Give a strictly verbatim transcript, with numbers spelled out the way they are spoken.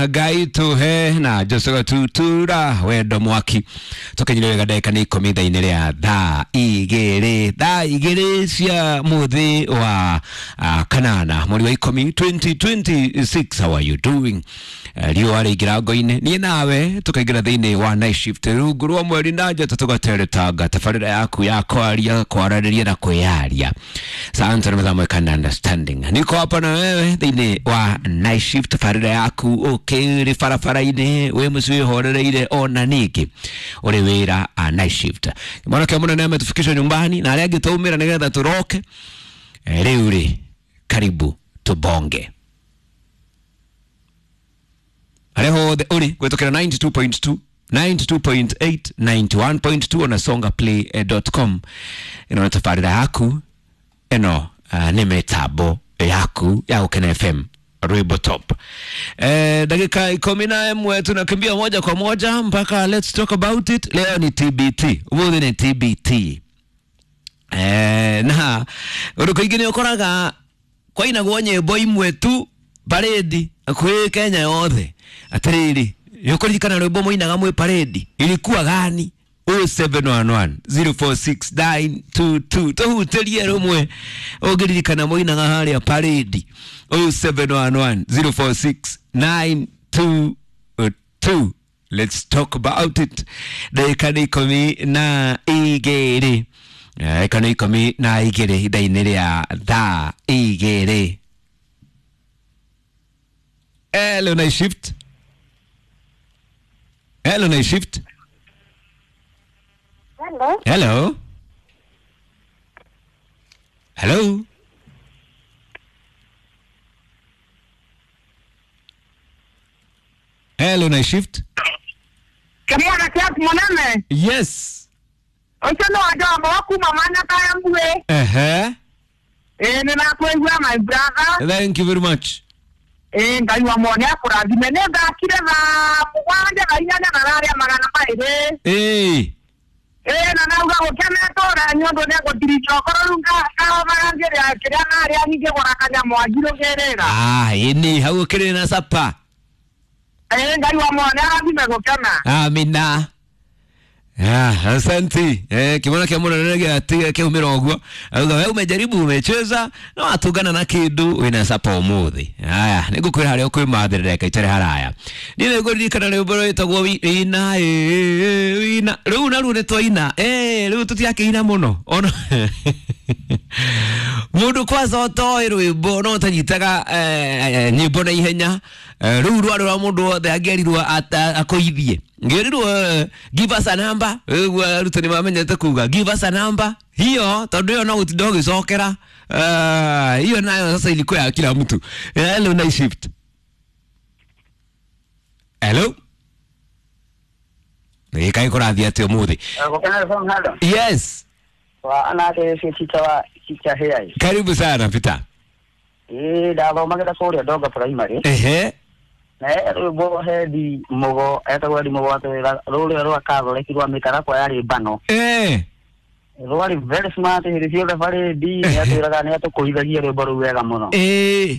Ngai tuhe na Joshua Tutura wendo mwaki tukinyire wega ndagĩka nĩ ikũmi thaa-inĩ rĩa thaa igĩrĩ thaa igĩrĩ cia mũthĩ wa uh, kanana mweri wa ikũmi twenty twenty-six. How are you doing? Uh, riũa rĩingĩra ngo-inĩ niĩ nawe tukaingĩra thĩinĩ wa night shift rungu rwa mweri na njata tũgateretanga tabarĩra yaku ya kwaria kwaranĩria na kwĩyaria. Asante na mathaa kana understanding. Niko hapa na wewe thĩinĩ wa night shift tabarĩra yaku ũkĩrĩ barabara-inĩ wĩ mũciĩ wĩhorereire ona ningĩ ũrĩ wĩra a night shift. Mwanake mũnene ametufikisha nyumbani na arĩa angĩ twaumĩra nĩgetha tũroke. Rĩu rĩ karibu tubonge harĩa hothe ũrĩ gwĩtũkĩra ninety-two point two, ninety-two point eight, ninety-one point two ona songa play dot com. Ĩno nĩ tabarĩra yaku ĩno uh, nĩ mĩtambo yaku ya Gũkena F M Rwimbo Top. Eh, dakika ikũmi na ĩmwe tunakimbia moja kwa moja mpaka let's talk about it. Leo ni T B T. Ũmũthĩ nĩ T B T. Eh, na ũndũ kaingĩ nĩ ũkoraga kwainagwo nyĩmbo imwe tu parade kwĩ Kenya yothe. Atĩrĩrĩ, nĩũkũririkana rwĩmbo mũinaga mwĩ parade ilikuwa gani? oh seven one one, zero four six nine two two. Tũhutĩrie rũmwe ũngĩririkana mũinaga harĩa parade oh seven one one, zero four six nine two two. Let's talk about it. Ndagĩka nĩ ikũmi na igĩrĩ ndagĩka nĩ ikũmi na igĩrĩ ithaa-inĩ rĩa thaa igĩrĩ. Hello night shift. Hello night shift. Hello. Hello. Hello. Hello night shift. Kamwana kiasi mwaname. Yes. Ocho no ajambo wakuma mana kayambwe. Eh eh. Eh ninakuigua my brother. Thank you very much. Eh ngai wa mwone akurathime nĩ ngakire thaa mũgwanja na inyanya na rarĩa magana maĩrĩ. Eh. Eh na nauga gũkena tũra nyondo nĩ ngũtirica okorwo rĩu ngahomaga ngĩrĩa kĩrĩa narĩa ningĩgũra kanyamũ angirũgĩrĩra. Ah ĩni hau ũkĩrĩ na sapa. Eh ngai wa mwone arathime gũkena. Amina. Ah, asante. Eh, kimona kia mwana nene ati kiumira ũguo. Auga wewe umejaribu umecheza no atungana na kindu wina sapa umuthi. Haya, nĩngũkwĩra harĩa ũkwĩmathĩra ndagĩka itarĩ haraya. Niĩ nĩngũririkana rwĩmbo rwĩtagwo wina ĩ wina. Rĩu naruo nĩ twaina. Eh, rĩu tũtiakĩina mũno. Ona mũndũ kwanza ũtoĩ rwĩmbo no ũtanyitaga eh, nyĩmbo na ihenya. Rĩu rwarĩ rwa mũndũ wothe angĩerirwo akũithie. Ngĩrirwo give us a number. Ũguo arutani mamenyete kuga give us a number. Hiyo tondũ ĩyo no gũtinda ũgĩcokera. Hiyo nayo sasa ilikuwa ya kila mtu. Hello night shift. Hello. Nĩ kũrathiĩ atĩa ũmũthĩ? Yes. Wa anake teacher wa teacher here. Karibu sana Peter. Eh ndathomagĩra kũrĩa Ndonga primary. Ehe. Na rwĩmbo hendi mũgo etagwo Eddie Mũgo atwĩra rũrĩa rwa Catholic rwa mĩtarakwa yarĩ mbano. Eh. Rwarĩ very smart hĩndĩ ciothe parade nĩ atwĩraga nĩ atũkũithagia rwĩmbo rũu wega mũno. Eh.